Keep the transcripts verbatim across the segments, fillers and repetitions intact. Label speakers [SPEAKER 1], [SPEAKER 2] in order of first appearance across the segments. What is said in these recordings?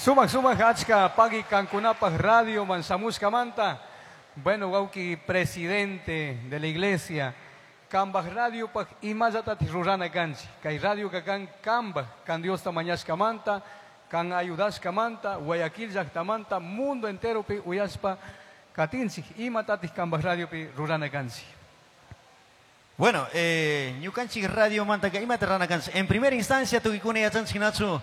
[SPEAKER 1] Sumak sumak achka pagui kankunapaj radio man shamushkamanta. Bueno, wawki presidente de la iglesia, kambaj radio paj imallatati rurana kanchik. Kay radio kan kambaj, kan Diosta mañashkamanta, kan ayudashkamanta, Guayaquil llaktamanta, mundo enteropi uyashpa katinchik, imatatik kambaj radiopi rurana kanchik.
[SPEAKER 2] Bueno, eh, ñukanchik radio mantaka imata rurana kanchik. En primera instancia tukuykuna yachanchik nachu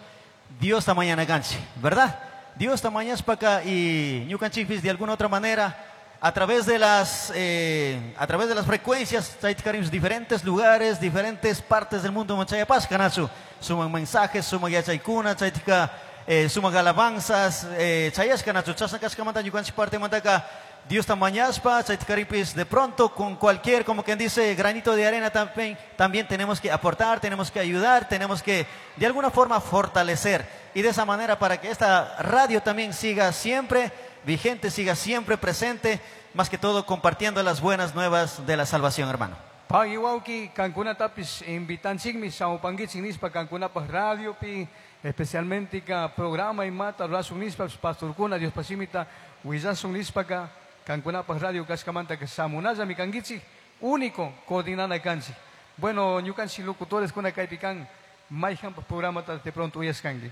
[SPEAKER 2] Diosta mañana kanchik, ¿verdad? Diosta mañashpaka y ñukanchikpis de alguna otra manera a través de las eh, a través de las frecuencias chaytikarimos diferentes lugares, diferentes partes del mundo machayapashka nachu. Suman mensajes, suman yachaykuna, chaytika eh, suman alabanzas, eh, chayashka nachu. Chashna kashkamanta ñukanchik parte mantaka Diosta mañashpa, chaytikaripis de pronto con cualquier, como quien dice, granito de arena también, también tenemos que aportar, tenemos que ayudar, tenemos que de alguna forma fortalecer. Y de esa manera para que esta radio también siga siempre vigente, siga siempre presente, más que todo compartiendo las buenas nuevas de la salvación, hermano.
[SPEAKER 1] Pagui wawki kankunatapis invitanchikmi shamupankichik nishpa kankunapaj radiopi especialmente ka programa imata rurashun nishpa pastorkuna Diospaj shimita willashun nishpaka kankunapaj radio kashkamanta ka shamunallami kankichik único coordinana kanchik. Bueno, ñukanchik locutores kuna kaypi kan mayhanpaj programata de pronto uyashkanki.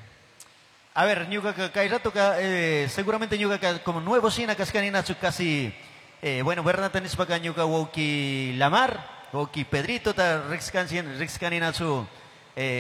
[SPEAKER 2] A ver, ñuka kay ratoka eh, seguramente ñuka como nuevo shina kashkani nachu casi eh, bueno, Bernata nishpaka ñuka wawki Lamar, wawki Pedrito ta riqskanchik riqskani nachu eh,